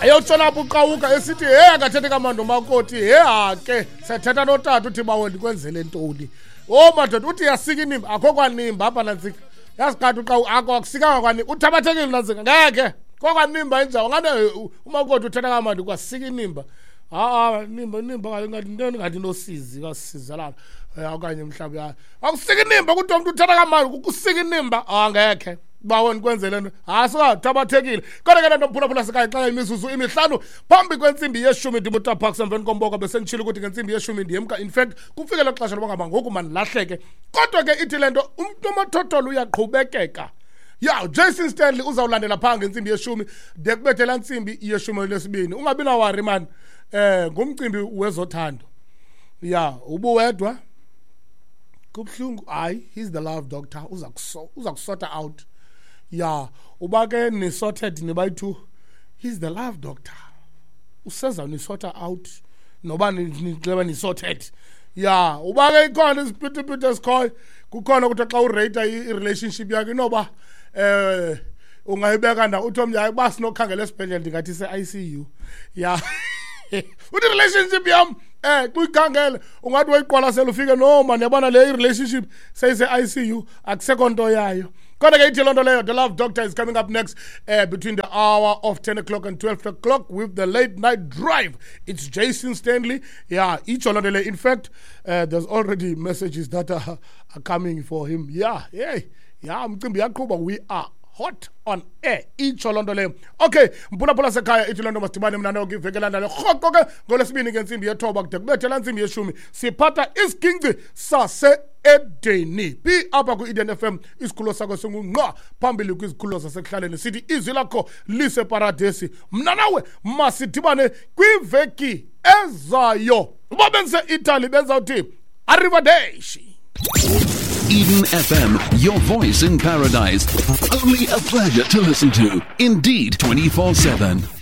Eyotshona apho uqawuka esithi he akathethe kamandi umakoti, he hake sethetha notata uthi bawo ndikwenzele ntoni. O madoda uthi yasika inimba, akho kwanimba apha nantsika. Yaziqatha uqawu akho akusikanga kwanimba, uthabathekile nantsika ngeke. Kokwanimba injawo ngane umakoti uthetha kamandi kwasika inimba. Ha-a nimba nimba ngathi into ngathi nosizi kasizalana okanye mhlawumbi akusika inimba kuthiwa umntu uthetha kamandi kusika inimba angekhe. Bawo ndikwenzele nto. Hayi singathabathekile. Kodwa ke le nto mphulaphula sikaye xa imizuzu imihlanu phambi kwentsimbi yeshumi ndimutha Parks emveni komboko besenditshilo ukuthi ngentsimbi yeshumi ndiyemka. In fact kufike lo xesha loba ngaba ngoku mandilahleke. Kodwa ke ithi le nto umntu omathotholo uyaqhubekeka. Ya, Jason Stanley uzawulandela phaa ngentsimbi yeshumi de kubethe laa ntsimbi yeshumi lesibini. Ungabi nawari man. Ngumcimbi wezothando. Ya, ubuwedwa. Kubuhlungu. Hayi, he's the love doctor. Uza kusota out. Ya, uba ke ni sorted nibayi-two, he's the love doctor. Useza ni-sorta out noba nixeba ni sorted. Ya, uba ke ikhona isiphithiphithi esikhoyo, kukhona ukuthi xa urate i-relationship yakho inoba ungayibeka nda uthi omnye hayi uba sinokhangela esibhedlele ndingathi ise-I C U. Ya. Uthi relationship yam kuyikhangele ungathi wayiqwalasela ufike no man yabona le relationship seyise-I C U akusekho nto yayo. Kodwa ke ithi loo nto leyo the love doctor is coming up next between the hour of 10 o'clock and 12 o'clock with the late night drive. It's Jason Stanley. Yeah, itsho loo nto leyo. In fact, there's already messages that are coming for him. Yeah, yeah, yeah, umcimbi uyaqhuba. We are hot on air. Itsho loo nto leyo. Okay, mphulaphula sekhaya ithi loo nto masidibane mna nawe kwiveki elandelayo rhoqo ke ngolwesibini ngentsimbi yethoba kude kubethe laa ntsimbi yeshumi siphatha isiginci sase-Edeni. Bi apha kwi-Eden FM isikhululo sakho singungqa phambili kwizikhululo zasekuhlaleni sithi izwi lakho liseparadesi. Mna nawe masidibane kwiveki ezayo. Uba benze-Italy benzawuthi arrivederci. Eden FM, your voice in paradise. Only a pleasure to listen to. Indeed, 24/7.